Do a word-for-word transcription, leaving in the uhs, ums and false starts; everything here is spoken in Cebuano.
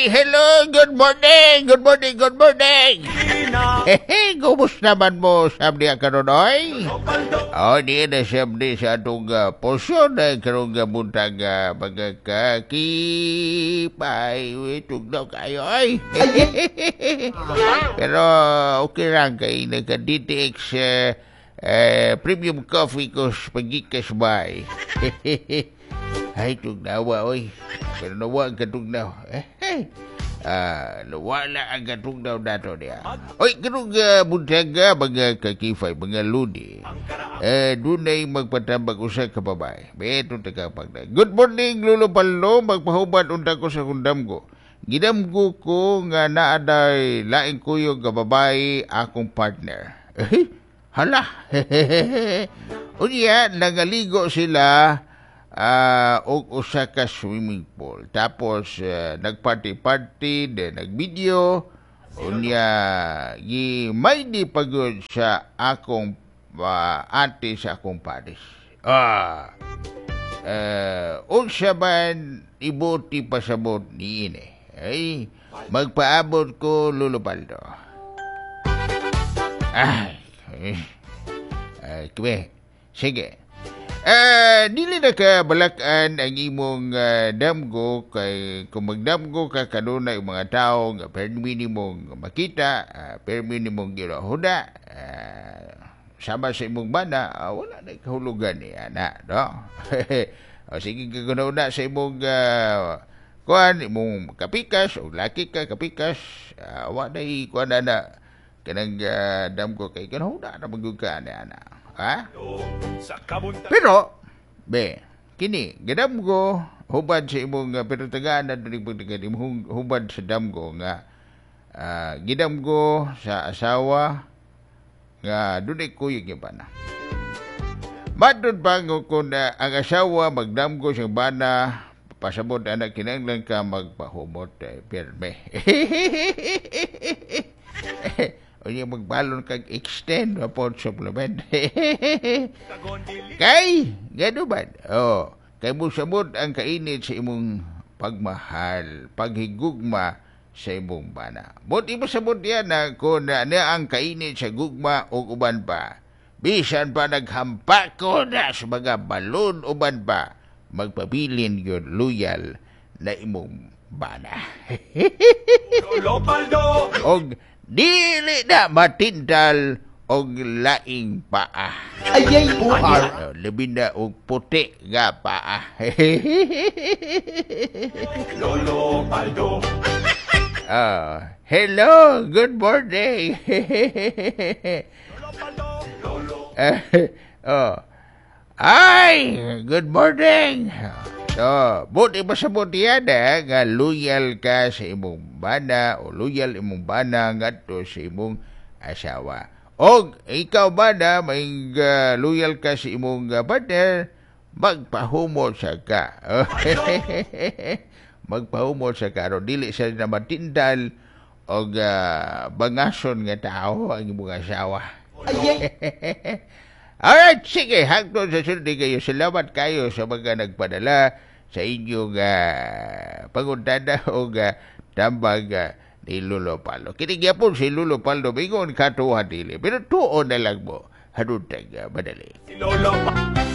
Ay, hello, good morning, good morning, good morning. Hehe, kumusta man mo sabdi karon oy? Oh, di na sabdi sa atong uh, porsyon na karong uh, buntag uh, mga kakipay. Tugnaw kayo ay. Pero okay lang kay nagka-D T X uh, uh, premium coffee ko sa pagikas bay. Ay, tugnawa, oy. Pero nawa ang katugnaw. Eh, ah, wala ang katugnaw nato niya. Oy, kanong uh, buntaga, mga kakifay, mga ludi. Eh, dunay magpatambag usa ka babae. Beto tagapagda. Good morning, Lolo Paldo. Magpahubad unta ko sa kundamgo. Gidamgo ko nga naaday laing kuyog nga babae akong partner. Eh, hala. Unya, nangaligo sila Uh, og usa ka swimming pool. Tapos uh, nagparty-party, then nagvideo. Unya gi may di pagod sa akong uh, ate sa akong pares. Ah. Uh, unsa man ibuti pasabot niini. Ay, magpaabot ko Lolo Paldo. Ay, ay, kwe. Sige. Uh, dili na ka balakan ang imong uh, damgo kay kung magdamgo ka kanunay mga tao nga permi nimong makita, uh, permi nimong ginahuda, uh, sama sa imong bana, uh, wala na kahulugan ni ana, no? O, sige kagununa sa imong uh, kuan, imong kapikas o laki ka kapikas, uh, wala na kuan na na kanang uh, damgo kay kanuhuda na magyud ka ani ana. Ha? Pero, be, kini, gadamgo, hubad sa imong, uh, pero tagaan na doon pagtagan, imong hubad sa damgo nga, uh, gidamgo sa asawa, nga doon ay kuyog yung bana. Matod pa kung uh, ang asawa magdamgo sa bana, pasabot anak kinahanglan ka magpahumot, eh, pirme. O niya magbalon kag extend po supplement. Kay, gano ba? Oh, kay musabot ang kainit sa imong pagmahal, paghigugma sa imong bana. But ipasabot yan na kung na, na ang kainit sa gugma o uban pa. Bisan pa naghampa ko na sa mga balon uban pa, magpabilin yun loyal na imong bana. Og dili na matindal og laing paa. Ay, ay, buhar. Labi na og puti nga paa. Lolo Paldo. Uh, hello, good morning. Lolo Paldo. Lolo. Uh, oh. Ay, good morning. So, buti ba sa buti yan eh, nga loyal ka sa imong bana o loyal imong bana ngadto sa imong asawa. O ikaw bana, may uh, loyal ka sa imong uh, partner, magpahumot sa ka. Magpahumot sa ka. Aron dili sa na matindal o uh, bangason nga tao ang imong asawa. Alright, sige, hangtod sa sunod kayo. Salamat kayo sa mga nagpadala sa inyong uh, pangutana o uh, tambag uh, ni Lolo Paldo. Kinigya po si Lolo Paldo, bingon katuwa dili. Pero tuon na lang mo, hanuntag uh, madali. Si Lolo Paldo.